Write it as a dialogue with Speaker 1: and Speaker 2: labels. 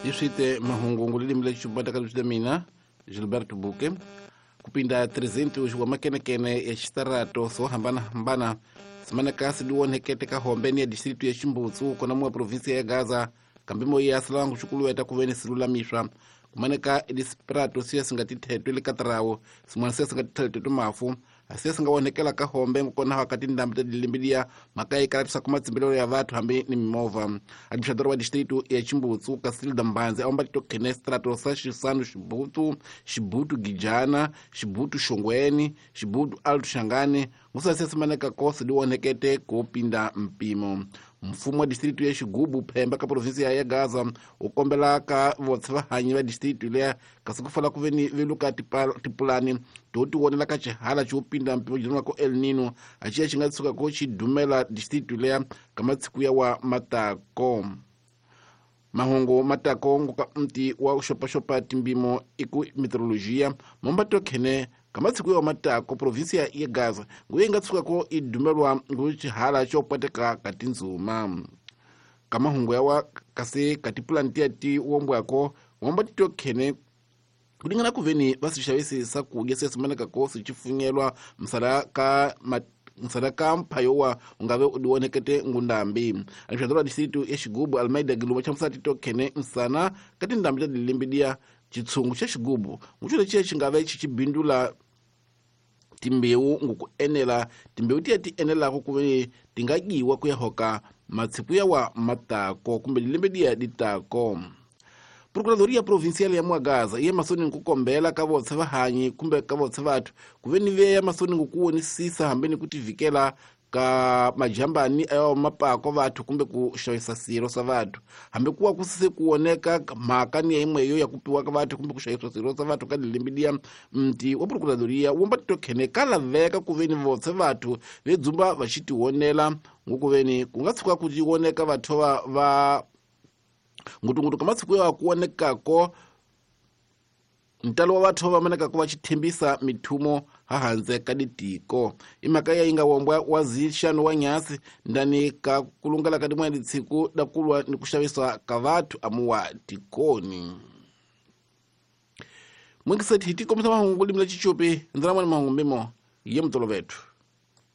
Speaker 1: Hi swite mahungu ngulilimi lexi xubataka leswi mina Gilberto Buke kupinda 300 wa makenekene ya xitarato swo hambanahambana simaneka siliwonhekete ka hombeni ya distritu ya Ximbutsu kona muwa provinsia ya Gaza kambe moya ya silangu xikuluweta kuveni silulamiswa kumaneka edisprato siya singatithetwe le katarawo sin'wana siya singatithetwe mafu asiya singawonhekela ka hombe ngokona ka tindhambi ta dilimbilia mhaka yi kalatisaka matsimbelelo ya vathu hambi ni mimovha. Administrador wa distritu ya Chimbutsu Casilda Mbanzi a omba titokhene strato sa Xisanu Xibutu, Xibutu Gijana, Xibutu Xongweni, Xibutu Alto Xangani ngusasiya simaneka kosi liwonhekete ku pinda mpimo. Mfumo wa distritu ya Xigubu Phemba ka provinsia ya Gaza wu kombela ka votse vahanyi va distritu leya kasi ku fala ku ve ni veluka tipulani to ti vonela ka xihala xo pinda mpimo jiniwako El Nino a xiya xi nga tshuka xi dumela distritu leya ka matsiku ya wa matako. Mahungu matako ngoka mti wa xopaxopa timbimo i ku meteorologia mombato khene ka matsiku ya wa matako provinsia ya Gaza nguye yi nga tshukako i dumelwa ngu xihala xo pwateka ka tindzuma. Ka mahungu ya wa kasi ka tipulani tiya ti wombwako wombatito khene kulingana kuveni va swi xavisi swakudya se simanekako swi xifunyelwa msala ka msala ka mphayowa u nga ve u diwonekete ngundambi. Administrador wa distritu ya Xigubu Almeida Giluva xa musati to khene msana ka tindhambi ta dilimbidiya xitshungu xa Xigubu nguxo lexiya xi nga ve xi xi bindula timbewu nguku enela timbewu tiya ti enelako ku ve ti nga dyiwa ku ya hoka matsiku ya wa matako kumbe dilembe diya ditako. Procuradoria Provincial ya Mwagaza iye masoni nkukombela ka votse vahanyi kumbe ka votse vathu ku ve ni veya masoni ngukuwonisisa hambi ni ku tivikela ka majambani ayo mapako vathu kumbe ku xavisa swilo swa vathu hambi kuwa ku se ku woneka mhaka ni yimweyo ya ku piwa ka vathu kumbe ku xavisa swilo swa vathu ka lilembidiya mti wa Procuradoria womba titokhene ka laveka ku ve ni votse vathu ve dzumba va xi tiwonela ngukuveni ku nga tshuka ku tiwoneka vathu va ngutungutu ka masiku ya ku wonekako ntalo wa vathu va manekako va xithembisa mithumo hahandze ka ditiko. I mhaka ya yi nga wombwa wa zixano wa nyasi ndani ka kulungela ka din'wana ditshiku da kulwa ni ku xavisa ka vathu amuwa tikoni. Mwingiseti hi tikombisa mahungu limla chichupi ndzina mwana mahungu mbimo ye mutolovethu.